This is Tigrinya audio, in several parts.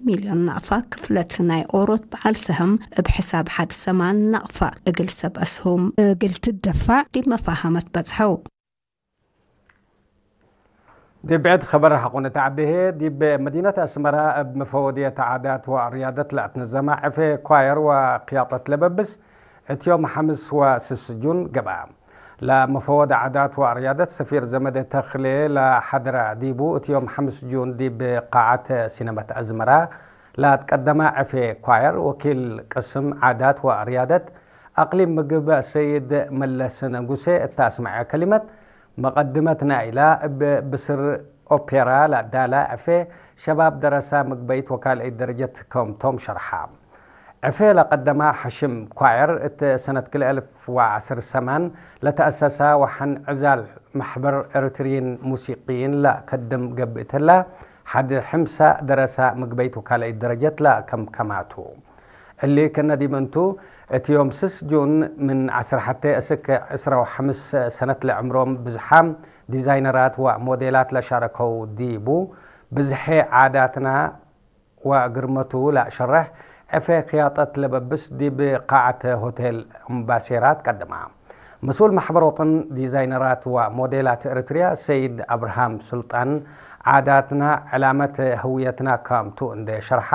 ሚልዮን ናቕፋ ክፍለት ናይ ኦሮት በዓል ሰህም እብ ሕሳብ ሓድ ሰማን ናቕፋ እግል ሰብ ኣስሁም እግል ትደፋዕ ዲብ መፋሃመት በጽሐው። ዲብ ብዕድ ኸበር ሐቆነ ተዓቤሄ፣ ዲብ መዲነት ኣስመራ እብ መፈወድየት ዓዳት ወርያደት ለኣትነዘማ ዕፌ ኳየር ወክያጠት ለበብስ እት ዮም ሐምስ ወስስ ጁን ገብአ። ለመፈወድ ዓዳት ወርያደት ሰፊር ዘመደ ተኽሌ ለሐድራ ዲቡ እት ዮም ሐምስ ጁን ዲብ ቃዓት ሲነመት ኣዝመራ ለትቀደማ ዕፌ ኳየር ወኪል ቅስም ዓዳት ወርያደት ኣቅሊም ምግብ ሰይድ መለስ ነጉሴ እተ ኣስመዐ ከሊመት መቀድመት ናይላ እብ ብስር ኦፔራ ለዳላ ዕፌ ሸባብ ደረሳ ምግበይት ወካልአይት ደረጀት ከምቶም ሸርሓ። ዕፌ ለቀደማ ሐሽም ኳየር እት ሰነት ክልኤ እልፍ ወዐስር ሰማን ለተአሰሳ ወሐን ዕዛል መሕበር ኤርትርይን ሙሲቅይን ለከድም ገብእትላ ሐድ ሕምሳ ደረሳ ምግበይት ወካልአይት ደረጀት ለከምከማቱ። እሊ ከነ ዲብ እንቱ፣ እት ዮም ስስ ጁን ምን ዐስር ሐቴ እስክ ዕስራ ወሐምስ ሰነት ለዕምሮም ብዝሓም ዲዛይነራት ወሞዴላት ለሻረከው ዲቡ፣ ብዝሐ ዓዳትና ወግርመቱ ለሸረሕ ዕፌ ክያጠት ለበብስ ዲብ ቃዓት ሆቴል እምባሴራ ትቀድማ። መስኡል ማሕበር ወጠን ዲዛይነራት ወሞዴላት ኤርትርያ ሰይድ ኣብርሃም ሱልጣን፣ ዓዳትና ዕላመት ህውየትና ከምቱ እንዴ ሸርሓ፣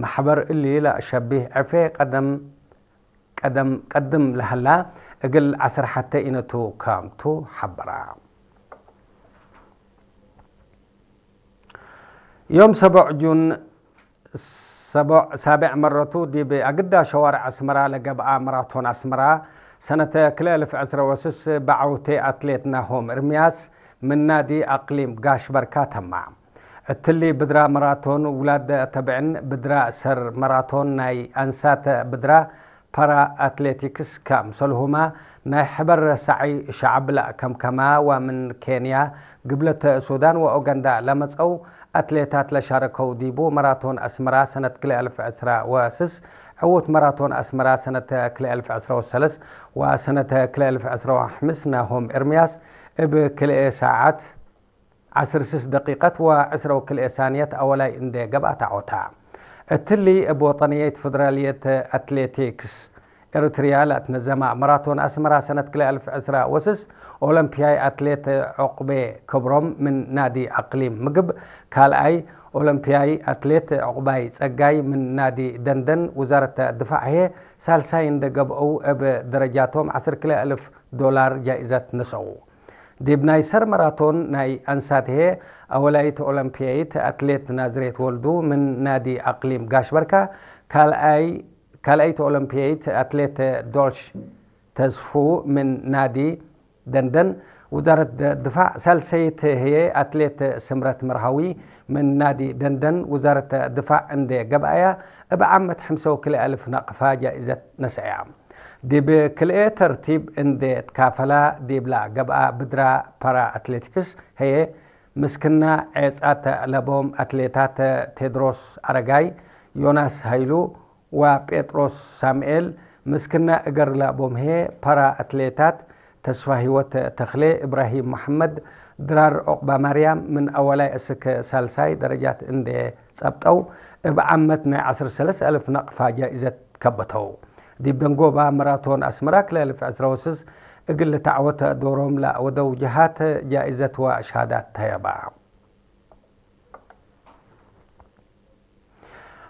ማሕበር እሊ ለሸቢህ ዕፌ ቀደም ቀደም ቀድም ለሀላ እግል ዐስር ሐተ ኢነቱ ከምቱ ሐበራ። ዮም ሰቦዕ ጁን ሰቦዕ ሳብዕ መረቱ ዲብ ኣግዳ ሸዋርዕ ኣስመራ ለገብኣ መራቶን ኣስመራ ሰነተ ክልኤ እልፍ ዕስረ ወስስ በዓውቴ ኣትሌት ናሆም እርምያስ ምን ናዲ ኣቅሊም ጋሽ በርካ ተማ። እትሊ ብድራ መራቶን ውላድ ተብዕን ብድራ ሰር መራቶን ናይ ኣንሳተ ብድራ ፓራ ኣትሌቲክስ ካምሰልሁማ ናይ ሕበር ሳዒ ሸዓብ ላእ ከምከማ ወምን ኬንያ ግብለት ሱዳን ወኡጋንዳ ለመጸው ኣትሌታት ለሻረከው ዲቡ መራቶን ኣስመራ ሰነት ክልኤ እልፍ ዕስራ ወስስ ዕውት መራቶን ኣስመራ ሰነት ክልኤ እልፍ ዕስራ ወሰለስ ወሰነት ክልኤ እልፍ ዕስራ ወሐምስ ናሆም ኤርምያስ እብ ክልኤ ሰዓት ዓስር ስስ ደቂቀት ወዕስራ ወክልኤ ሳንየት ኣወላይ እንዴ ገብኣ ተዓወታ። እትሊ እብ ወጠንየት ፈደራልየት ኣትሌቲክስ ኤርትርያ ለእትነዘማ መራቶን ኣስመራ ሰነት ክልኤ እልፍ ዕስራ ወስስ ኦሎምፒያይ ኣትሌት ዑቅቤ ክብሮም ምን ናዲ ኣቅሊም ምግብ፣ ካልኣይ ኦሎምፒያይ ኣትሌት ዑቅባይ ጸጋይ ምን ናዲ ደንደን ውዛረት ድፋዕ ህየ ሳልሳይ እንደ ገብአው እብ ደረጃቶም ዓሰርተ ክልተ እልፍ ዶላር ጃኢዘት ነሰኡ። ዲብ ናይ ሰር መራቶን ናይ ኣንሳትሄ ኣወላይት ኦሎምፒያይት ኣትሌት ናዝሬት ወልዱ ምን ናዲ ኣቅሊም ጋሽ በርካ፣ ካልኣይ ካልኣይት ኦሎምፒያይት ኣትሌት ዶልሽ ተስፉ ምን ናዲ ደንደን ውዛረት ድፋዕ፣ ሳልሰይት ህየ ኣትሌት ስምረት መርሃዊ ምን ናዲ ደንደን ውዛረት ድፋዕ እንዴ ገብኣያ፣ እብ ዓመት ሕምሰው ክልኤ እልፍ ናቅፋ ጃኢዘት ነሰእያ። ዲብ ክልኤ ተርቲብ እንዴ ትካፈላ ዲብላ ገብኣ ብድራ ፓራ ኣትሌቲክስ ህየ፣ ምስክና ዔጻት ለቦም ኣትሌታት ቴድሮስ ኣረጋይ፣ ዮናስ ሃይሉ ወጴጥሮስ ሳምኤል፣ ምስክና እገር ለቦምሄ ፓራ ኣትሌታት ተስፋሂወት ተኽሌ፣ እብራሂም መሐመድ፣ ድራር ዑቅባማርያም ምን ኣወላይ እስክ ሳልሳይ ደረጃት እንዴ ጸብጠው፣ እብ ዓመት ናይ ዓሰርተ ሰለስተ እልፍ ናቅፋ ጃኢዘት ከበተው። ዲብ ደንጎባ መራቶን ኣስመራ ክልኤ እልፍ ዕስራ ወስስ እግል ልታዕወት ዶሮም ለወደው ጀሃት ጃኢዘት ወሻሃዳት ተየባ።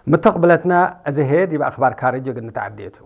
ምተቕብለትና እዝሄ ዲብ ኣኽባር ካርጅ እግል ንትዓዴቱ።